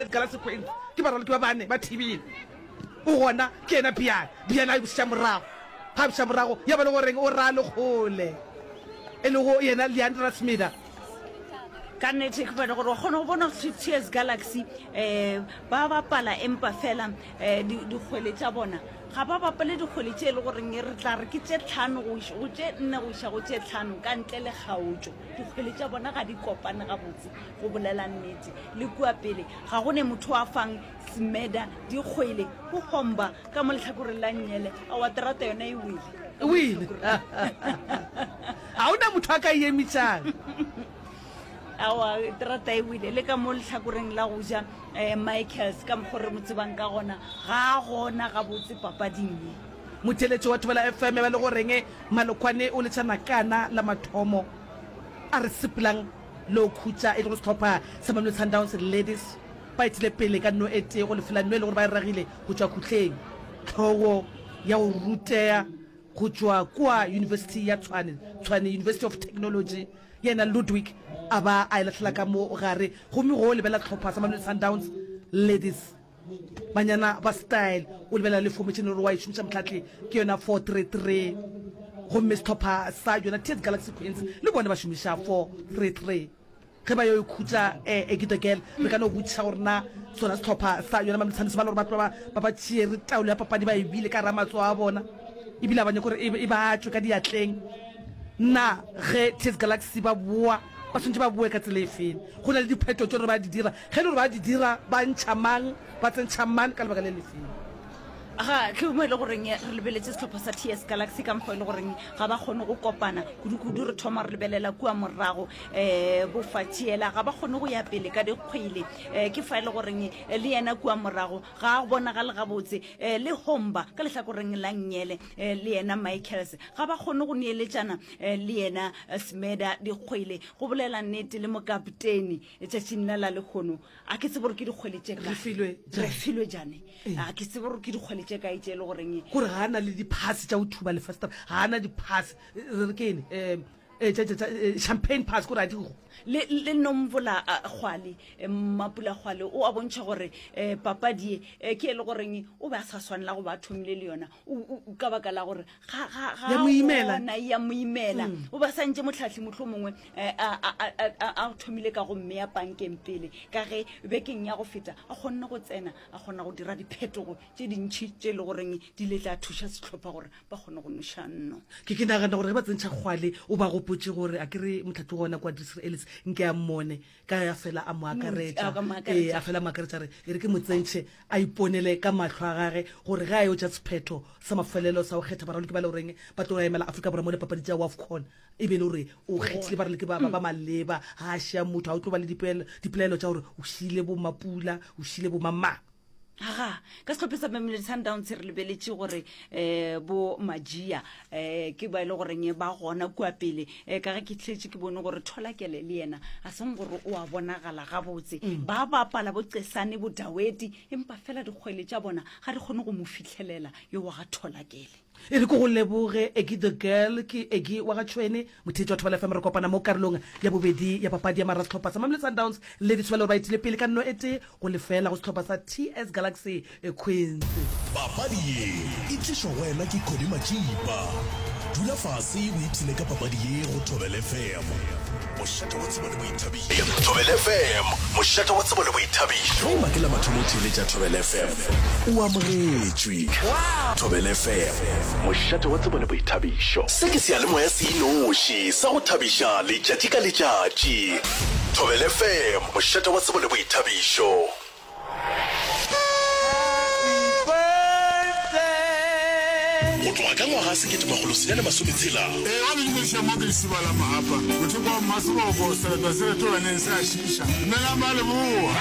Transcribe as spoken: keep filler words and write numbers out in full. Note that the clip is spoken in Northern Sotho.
T S Galaxy Queens ke baraloki ba bane ba thibile. O gona ke yena Bian. Bian a e bušetša morago. Ga a bušetša morago ya ba le goreng o ra le kgole. E lego yena Leandra Smida. Ka nnete ke bone gore wa kgona go bona gore T S Galaxy um ba bapala empa fela um dikgwele tša bona ga ba bapale dikgwele tše e le goreng re tla re ke tše tlhano go iša go tše nne go iša go tše tlhano ka ntle le kgaotšo. Dikgwele tša bona ga di kopane gabotse go bolela nnete. Le kua pele ga go ne motho a fang Smeda dikgwele go gomba ka mo lehlakoreng la nnyele. Aowa terata yona e wele. E wele. Ga go na motho a ka e emišang. Aowa terata e wele. Le ka mo lehlakoreng la go ja um Michaels ka mokgo re mo tsebang ka gona ga a gona gabotse papading ye. Motheeletši wa Thobela F M ya ba le goreng Malokwane o letša nakana la mathomo a re sepelang le go khutša e lego sehlopha sa Mamelodi Sundowns Ladies ba etile pele ka nno e tee go lefela nno e le gore ba e ragile go tšwa khutleng hlogo ya go rutea go tšwa kua Yunibesithi ya Tshwane, Tshwane University of Technology, yena Ludwig a ba a e lahlela ka mo gare gomme go lebelela sehlopha sa Mamelodi Sundowns Ladies banyana ba style o lebelela le formation e le gore wa e šomiša mohlatle ke yona four three three gomme sehlopha sa yona T S Galaxy Queens le bone ba šomiša four three three. Ge ba yo ikhutša Egido Girl, re ka no botšiša gore na sona sehlopha sa yona Mamelodi Sundowns ba le gore ba tloga ba ba tšeere taolo ya papadi ba e beile ka gare ga matsogo a bona ebile ga ba nyake gore e ba tšwe ka diatleng. Na ge T S Galaxy ba boa ba swanetše ba boe ka tsela efeng? Go na le diphetho tše gore ba di dira, ge e le gore ba di dira ba ntšha mang ba tsentšha mang ka lebaka le lefeng? Ga ke mo e le goreng re lebeletše sehlopha sa T S Galaxy ka mokgwa e le goreng ga ba kgone go kopana kudu-kudu. Re thoma re lebelela kua morago um bofatšiela ga ba kgone go ya pele ka dikgwele um ke fa e le goreng le yena kua morago ga a bonagale gabotse um le Homba ka lehlakoreng la nnyele um le yena Michaels ga ba kgone go neeletšana um le yena Smeda dikgwele. Go bolela nnete le mokapteni letšatšing la la lehono a ke tsebe gore ke dikgwele tše kae. Re filwe jane. A ke tsebe gore ke dikgwele tše kae tše e le goreng. Gore ga a na le diphase tša go thuba lefastere, ga a na diphase, re re ke eng, um tša, tša, tša champagne pass, kore a di go. Le, le Nomvula Kgwale, Mmapula Kgwale o a bontšha gore um papadi ye um ke e le goreng o be a sa swanela go ba a thomile le yona, o, o, ka baka la gore ga, ga, ga Ya mo imela. gona, ya mo imela. O ba santše mohlahli mohlomongwe um a, a, a, a, a thomile ka go mmea pankeng pele, ka ge bekeng ya go feta a kgonne go tsena a kgona go dira diphetogo tše dintši tše e le goreng di ile tša thuša sehlopha gore ba kgone go noša nno. Ke, ke nagana gore ge ba tsentšha Kgwale, o ba gopotše gore a ke re mohlahli gona kwa Drisri Ellis nke a mmone, ka a fela a mo akaretša, ee, a fela a mo akaretša a re e re ke mo tsentšhe a iponele ka mahlo a gage gore ge a yo tša sephetho sa mafelelo sa go kgetha baraloki ba le goreng ba tlo emela Afrika Borwa mo dipapadi tša WAFCON e be e le gore o kgethile baraloki ba, ba, ba maleba, ga a šia motho, ga o tlo ba le dipelaelo, dipelaelo tša gore o šile bo Mapula, o šile bo mamang. Aga, ka sehlopheng sa Mamelodi Sundowns re lebeletše gore um bo Majia um ke ba e le goreng ba gona kua pele um ka ge ke tletše ke bone gore Tholakele le yena a seng gore o a bonagala gabotse. Ba bapala bo Cesane bo Daweti empa fela dikgwele tša bona ga di kgone go mo fihlelela yo wa ga Tholakele. E re ke go leboge Eggy the Girl, ke Eggy wa ga Tšhwene, motheetši wa Thobela F M. Re kopana mo karolong ya bobedi ya papadi ya mara sehlopha sa Mamelodi Sundowns le Ditshwelo ba etile pele ka nno e tee go lefela go sehlopha sa T S Galaxy Queens. Papadi ye e tlišwa go wena ke Cody Matšipa. Dula fase o ipshine ka papadi ye go Thobela F M, mošate wa tsebo le boithabišo. Thobela F M, mošate wa tsebo le boithabišo. Ge e ba ke la mathomo o theeletša Thobela F M, o amogetšwe. Thobela F M, mošate wa tsebo le boithabišo. Se ke seyalemoya se inoši sa go thabiša letšatši ka letšatši. Thobela F M, mošate wa tsebo le boithabišo. Go tloga ka ngwaga sekete makgolo senyane masome tshela. Ee, wa le dumediša mo ke Lesiba la Mahapa, mothoko wa Mmaseboko, sereto se retolaneng se a šiiša. Dumelang ba Leboa.